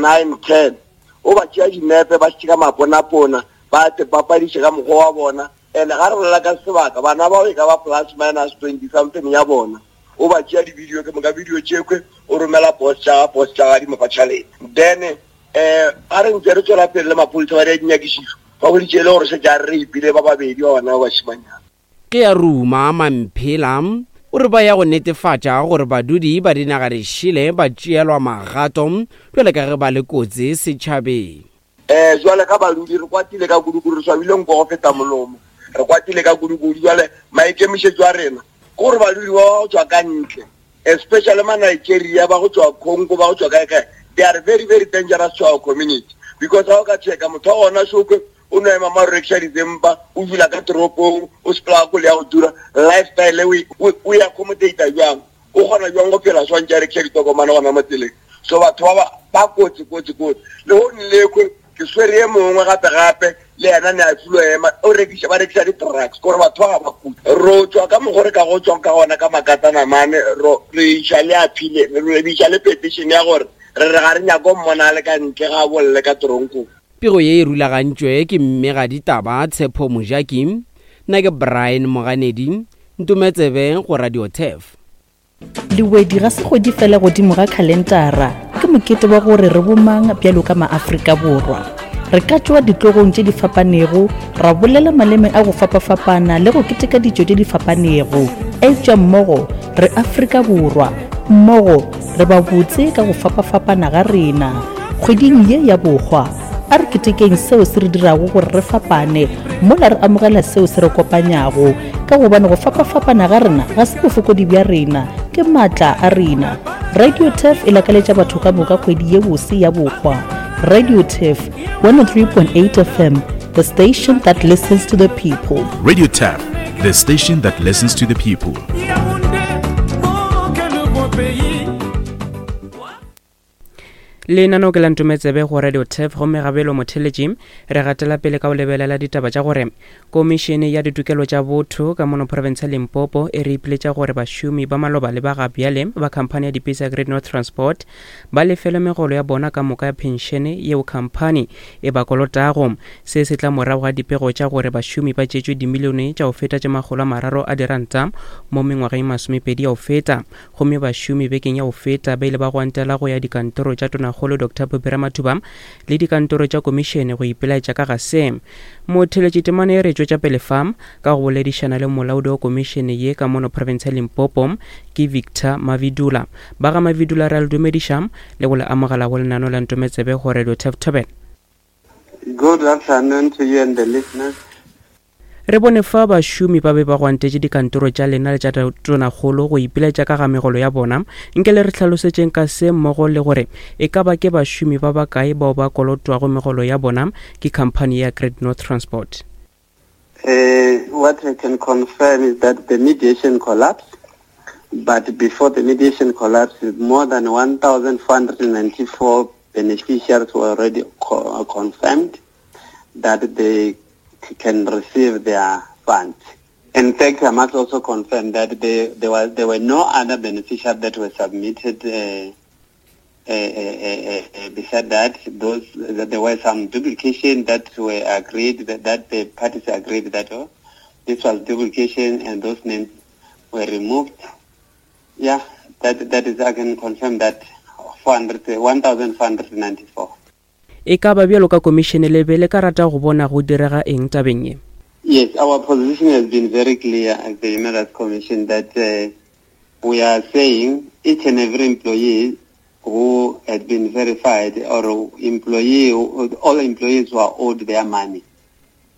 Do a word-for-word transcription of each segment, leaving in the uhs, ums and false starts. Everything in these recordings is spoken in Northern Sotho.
nine ten o ba tšea dinepe ba šitše ka maponapona ba te papadiše ka mokgwa wa bona and ga re bolela ka sebaka bana bao e ka ba plus minus twenty something ya bona o ba tšea di-video ke moka video tšekhwe o romela boss tša boss tša di mo fa tšhelete then um ga re ntse re tswela pele le maphodisa ba di dinyakišišo ba boditše e le gore šetše a re rapile ba babedi ba bana ba bašimanyana Ke ya ruma Mamphela o re ba ya go netefatša gore badudi ba dinaga dišele ba tšeelwa magato bjale ka ge ba le kotsi setšhabeng. um jwale ka badudi re kwatile ka kudu-kudu re swabile nko go feta molomo re kwatile ka kudu-kudu jwale maikemišetšo a rena ke gore badudi ba ba go tswa ka ntle especially ma Nigeria ba go tswa Congo ba go tswa kae kae they are very very dangerous to our community because ga o ka checka motho wa gona shokwe o no ema ma rekiša dizempa o dula ka toropong o sepela ka koloi ya go tura lifestyle o o e accommodate jwang o kgona jwang go phela swantse a rekiša ditokomane gona mo tseleng so batho ba ba kotsi kotsi kotsi le go nlekwe ke swere ye mongwe gape gape le yena ne a filo ema o rekiša ba rekiša di-drugs kore batho ba ga ba kudu ro tswa ka mokgwa re ka go tswang ka gona ka makatanamane ro re iša le appeal re iša le petition ya gore re re ga re nyako mmona le ka ntle ga bolle ka toronkong Pego ye e rulagantšwe ke mmegaditaba Tshepo Mojaki nna ke Brian Moganedi Ntometsebe go Radio Turf. Lewedi ga se kgwedi fela godimo ga khalentara, ke mokete wa gore re bomang bjalo ka maAfrika Borwa. Re ka tšwa ditlogong tše di fapanego, ra bolela maleme a go fapafapana le go keteka ditšo tše di fapanego, eupša mmogo re Afrika Borwa, mmogo re ba botse ka go fapafapana ga rena. Kgweding ye ya bohwa, a re ketekeng seo se re dirago gore re fapane mola re amogela seo se re kopanyago, ka gobane go fapafapana ga rena ga se bofokodi bja rena, ke maatla a rena. Radio Turf e lakaletša batho ka moka kgwedi ye bose ya bohwa. Radio Turf one oh three point eight F M, the station that listens to the people. Radio Turf, the station that listens to the people. Lenaneo ke la Ntometsebe go Radio Turf gomme gabelo motheletši re gatela pele ka go lebelela ditaba tša gore komišene ya ditokelo tša botho ka mono province ya Limpopo e re ipiletša gore bašomi ba maloba le ba ga bjale ba khamphani ya dipese ya Great North Transport ba lefele megolo ya bona ka moka ya phenšene yeo khamphani e ba kolotago. Se se tla morago ga dipego tša gore bašomi ba tšetšwe dimilione tša go feta tše makgolo a mararo a diranta mo mengwageng masomepedi ya go feta, gomme bašomi bekeng ya go feta ba ile ba gwantela go ya dikantoro tša tonakgolo Doctor Phophi Ramathuba le dikantoro tša komišene go ipelaetša ka ga se. Motheletši temane e re tšwetša pele fa ka go boledišana le molaodi wa komišene ye ka mono province ya Limpopo ke Victor Mavidula. Ba ga Mavidula re a le dumediša le go le amogela go lenaneo la Ntometsebe go Radio Turf Thobela. Good afternoon to you and the listeners. Re bone fa bašomi ba be ba gwantetše dikantoro tša lena le tša tonakgolo go ipiletša ka ga megolo ya bona. Nke le re hlalosetšeng ka se mmogo le gore e ka ba ke bašomi ba bakae bao ba kolotwago megolo ya bona ke khamphani ya Great North Transport. Uh, what I can confirm is that the mediation collapsed, but before the mediation collapsed, more than one thousand four hundred ninety-four beneficiaries were already co-, confirmed that they can receive their funds. In fact, I must also confirm that they, there, was, there were no other beneficiaries that were submitted. Uh, uh, uh, uh, uh, beside that, those that there were some duplication that were agreed, that, that the parties agreed that oh, this was duplication and those names were removed. Yeah, that, that is, I can confirm that four hundred, one thousand four hundred ninety-four. E ka ba bjalo ka komišene le be le ka rata go bona go direga eng tabeng ye? Yes, our position has been very clear as the Human Rights Commission that, uh, we are saying each and every employee who had been verified or employee, all employees who are owed their money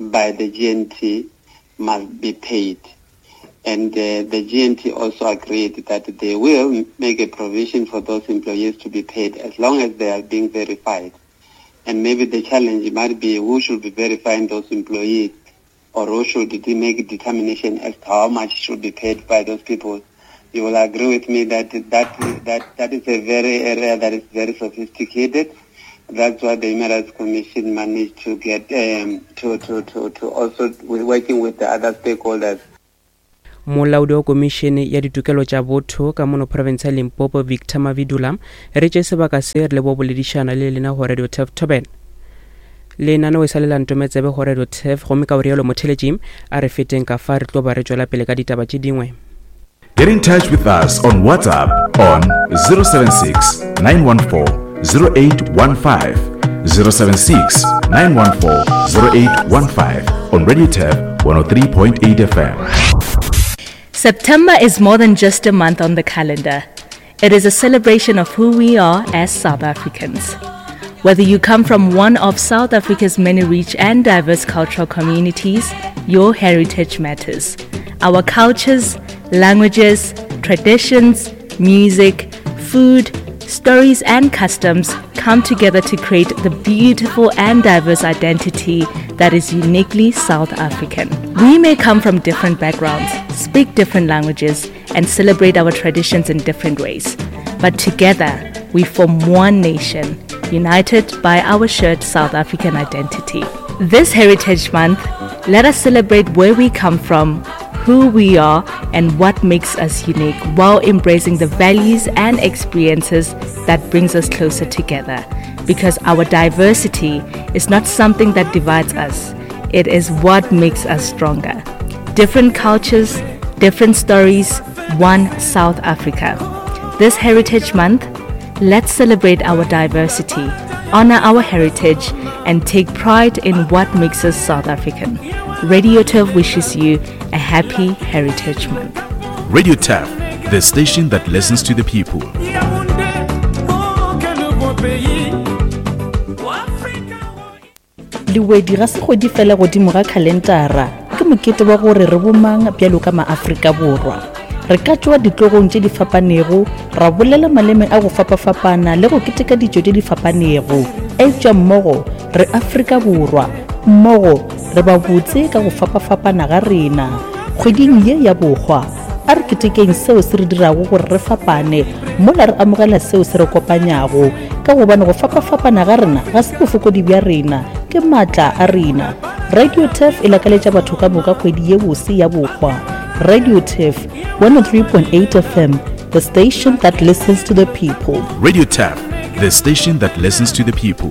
by the G N T must be paid. And, uh, the G N T also agreed that they will make a provision for those employees to be paid as long as they are being verified. And maybe the challenge might be who should be verifying those employees or who should make a determination as to how much should be paid by those people. You will agree with me that that, that, that is a very area that is very sophisticated. That's why the Human Rights Commission managed to get, um, to, to, to, to also working with the other stakeholders. Molaodi wa Komišene ya Ditokelo tša Botho ka mono profense ya Limpopo Victor Mavidula re tše sebaka se re le bo boledišana le lena go Radio Turf Thobela. Lenaneo e sa le la ntometsebe go Radio Turf gomme ka o rialo motheletši a re feteng ka fa re tlo ba re tšwela pele ka ditaba tše dingwe. Get in touch with us on WhatsApp on zero seven six, nine one four, zero eight one five, zero seven six, nine one four, zero eight one five on Radio Turf one oh three point eight F M. September is more than just a month on the calendar. It is a celebration of who we are as South Africans. Whether you come from one of South Africa's many rich and diverse cultural communities, your heritage matters. Our cultures, languages, traditions, music, food, stories and customs come together to create the beautiful and diverse identity that is uniquely South African. We may come from different backgrounds, speak different languages, and celebrate our traditions in different ways. But together, we form one nation, united by our shared South African identity. This Heritage Month, let us celebrate where we come from, who we are, and what makes us unique, while embracing the values and experiences that brings us closer together. Because our diversity is not something that divides us, it is what makes us stronger. Different cultures, different stories, one South Africa. This Heritage Month, let's celebrate our diversity, honor our heritage, and take pride in what makes us South African. Radio Turf wishes you a happy Heritage Month. Radio Turf, the station that listens to the people. Lewedi ga se kgwedi fela godimo ga khalentara, ke mokete wa gore re bomang bjalo ka maAfrika Borwa. Re ka tšwa ditlogong tše di fapanego, ra bolela maleme a go fapafapana le go keteka ditšo tše di fapanego. Eupša mmogo re Afrika Borwa, mmogo re ba botse ka go fapafapana ga rena. Kgweding ye ya bohwa, a re ketekeng seo se re dirago gore re fapane, mola re amogela seo se re kopanyago, ka gobane go fapafapana ga rena ga se bofokodi bja rena, ke maatla a rena. Radio Turf e lakaletša batho ka moka kgwedi ye bose ya bohwa. Radio Turf one oh three point eight F M, the station that listens to the people. Radio Turf, the station that listens to the people.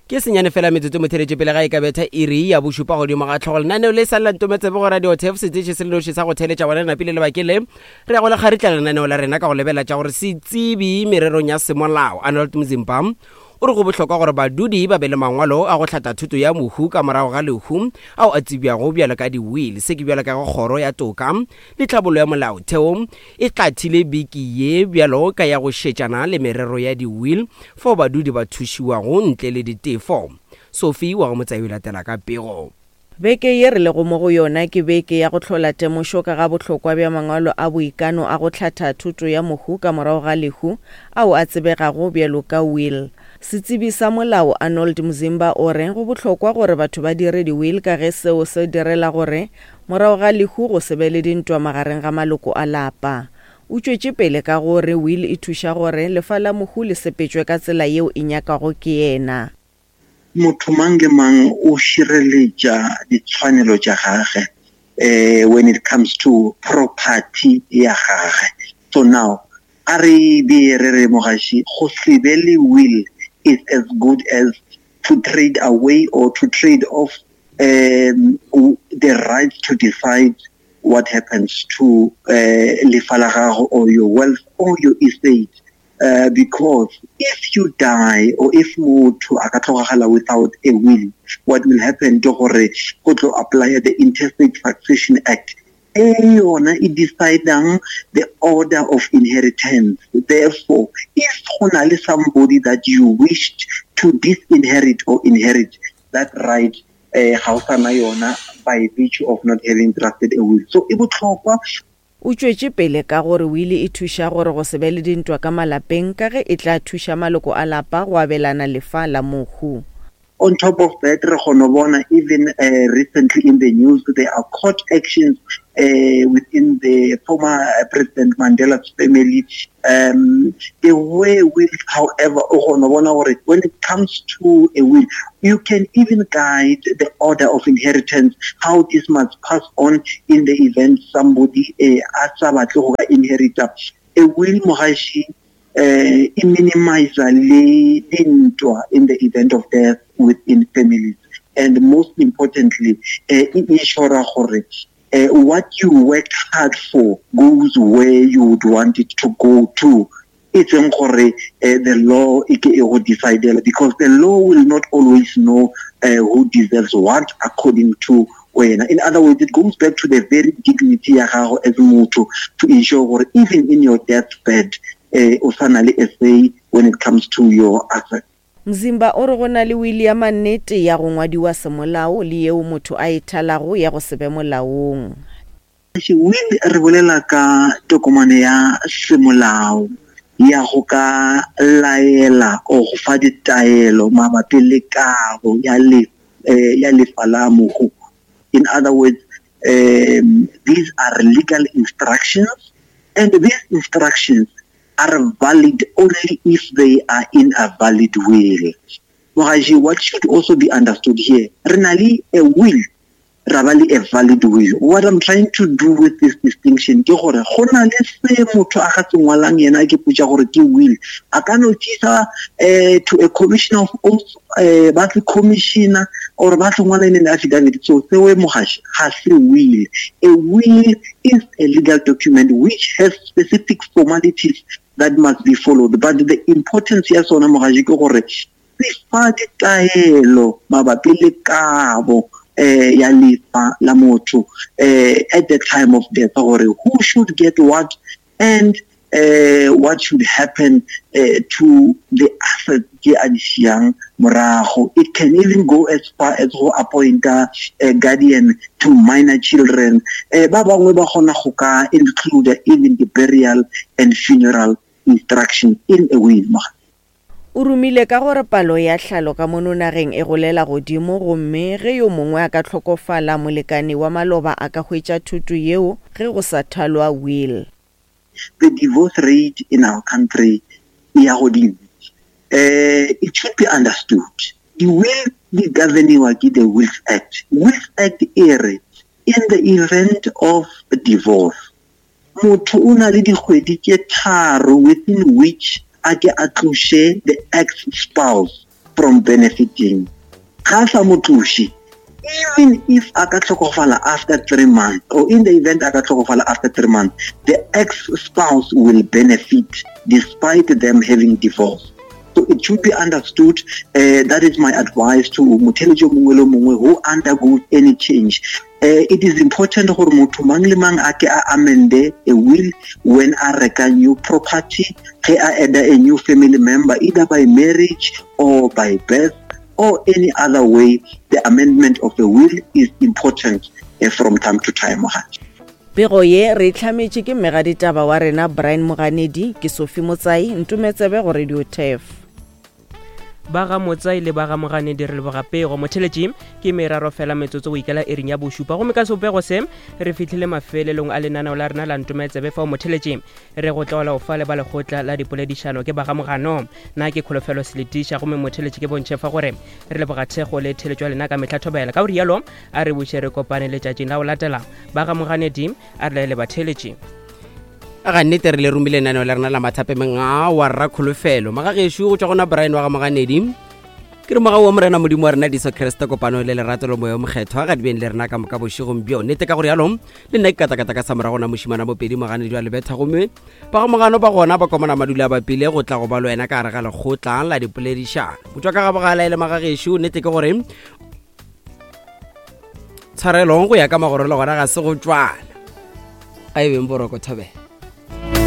Ke senyane fela metsotso motheletše pele ga e ka betha iri ya bošupa godimo ga tlhogo. Lenaneo le sa lela ntometsebe go Radio Turf, seteše se le noši sa go theletša bona napile lebakeng le. Re ya go le kgaritla lenaneo la rena ka go lebela tša gore setsebi mererong ya semolao Arnold Mzimba o re go bohlokwa gore badudi ba be le mangwalo a go hlatha thuto ya mohu ka morago ga lehu ao a tsebjago bjalo ka di-will. Se ke bjalo ka go kgoro ya toka le tlhabollo ya molaotheo e tlathile beke ye bjalo ka ya go šetšana le merero ya di-will fao badudi ba thušiwago ntle le ditefo. Sophie wa go Motsae o latela ka pego. Beke ye re lego mo go yona ke beke ya go hlola temošo ka ga bohlokwa bja mangwalo a boikano a go hlatha thuto ya mohu ka morago ga lehu ao a tsebegago bjalo ka will. Setsebi sa molao Arnold Mzimba o re go bohlokwa gore batho ba dire di-will ka ge seo se direla gore morago ga lehu go se be le dintwa magareng ga maloko a lapa. O tšwetše pele ka gore will e thuša gore lefa la mohu le sepetšwe ka tsela yeo e nyakago ke yena. Motho mang le mang o šireletša ditshwanelo tša gagwe, eh, when it comes to property ya gagwe. So now, a re be re re mogaši, go se be le will is as good as to trade away or to trade off, um, the right to decide what happens to, uh, lefa la gago or your wealth or your estate. Uh, because if you die or if motho a ka tlogela without a will, what will happen ke gore go tlo apply the Intestate Succession Act. E yona e decidang the order of inheritance. Therefore, if go na le somebody that you wished to disinherit or inherit, that right, eh, ga o sana yona by virtue of not having drafted a will. So e botlhokwa. O tšwetše pele ka gore will e thuša gore go se be le dintwa ka malapeng ka ge e tla thuša maloko a lapa go abelana lefa la mohu. On top of that, re kgona bona even uh, recently in the news there are court actions uh, within the former President Mandela's family. Um, the way will, however, when it comes to a will, you can even guide the order of inheritance, how this must pass on in the event somebody a sa batle go ka inherita. A will, mogashi, uh, e minimize le dintwa in the event of death within families. And most importantly, uh, e ensure gore uh, what you worked hard for goes where you would want it to go to. It's gore uh, the law e ke e go decidela, because the law will not always know uh, who deserves what according to wena. In other words, it goes back to the very dignity ya gago as motho to ensure gore even in your deathbed uh, o sa na le a say when it comes to your assets. Mzimba o re go na le wili ya mannete ya go ngwadiwa semolao le yeo motho a e thalago ya go se be molaong. Will re bolela ka tokomane ya semolao ya go ka laela o go fa ditaelo mabapi le kabo ya le eh, ya lefa la mohu. In other words, um, these are legal instructions, and these instructions are valid only if they are in a valid will. Mogaji, what should also be understood here, re na le a will, ra ba le a valid will. What I'm trying to do with this distinction ke gore go na le se motho a ga se ngwalang yena ke potša gore ke will. A ka no tšisa eh, to a commissioner of oaths, eh, ba se commissioner or ba se ngwala in an affidavit. So seo mogashi ga se will. A will is a legal document which has specific formalities that must be followed. But the importance ya sona mogashi ke gore se fa ditaelo mabapi le kabo eh, ya lefa la motho eh, at the time of death, gore who should get what and uh, what should happen uh, to the assets tse a di siang morago. It can even go as far as go appoint a guardian to minor children. Eh, ba bangwe ba kgona go ka include even the burial and funeral instructions in a will. O romile ka gore palo ya tlhalo ka mono nageng e golela godimo, gomme ge yo mongwe a ka hlokofala molekane wa maloba a ka hwetša thuto yeo ge go sa thalwa will. The divorce rate in our country e ya godimo. Uh, it should be understood. The will di governiwa ke the Wills Act. Wills Act e re in the event of divorce, motho o na le dikgwedi tše tharo within which a ke a tloše the ex-spouse from benefiting. Ga sa mo tloše, even if a ka hlokofala after three months, or in the event a ka hlokofala after three months, the ex-spouse will benefit despite them having divorced. So it should be understood. Uh, that is my advice to motheletši o mongwe le mongwe who undergoes any change. Uh, it is important gore motho mang le mang a ke a amende a will when a reka new property, ge a add a new family member, either by marriage or by birth or any other way. The amendment of the will is important uh, from time to time. Pego ye re hlametše ke mmegaditaba wa rena Brian Moganedi, ke Sophie Motsai, Ntumetsebe go Radio Turf. Ba ga Motsai le ba ga Moganedi re leboga pego. Motheletši ke meraro fela metsotso go ikela iring ya bošupa, gomme ka sebopego se re fihlile mafelelong a lenaneo la rena la Ntumetsebe. Fao motheletši re go tlola o fa le ba lekgotla la dipoledišano ke ba ga Mogano. Nna ke Kholofelo Seletiša, gomme motheletši ke bontšhe fa gore re leboga thekgo le theletšo ya lena ka mehla thobela. Ka go rialo a re buše re kopane letšatšing la go latela. Ba ga Moganedi a re laele batheletši. Ga nnete re le romile lenaneo la rena la mathapemeng a wa rra Kholofelo. Magagešo go tšwa gona Brian wa ga Moganedi, ke re mogau wa Morena Modimo wa rena Jesu Kriste, kopano le lerato le moya o mokgethwa ga di beng le rena ka moka bošegong bjo. Nnete ka gore yalo le nna ke katakata ka sa morago na mošimana Mopedi Moganedi wa Lebetha, gomme ba ga Mogano ba gona ba komana madula a bapile go tla go ba le wena ka gare ga lekgotla la dipoledišano. Go tšwa ka ga bogala e le magagešo, nnete ke gore tshwarelong go ya ka magoro le gona ga se go tšwana. A e beng boroko thobela.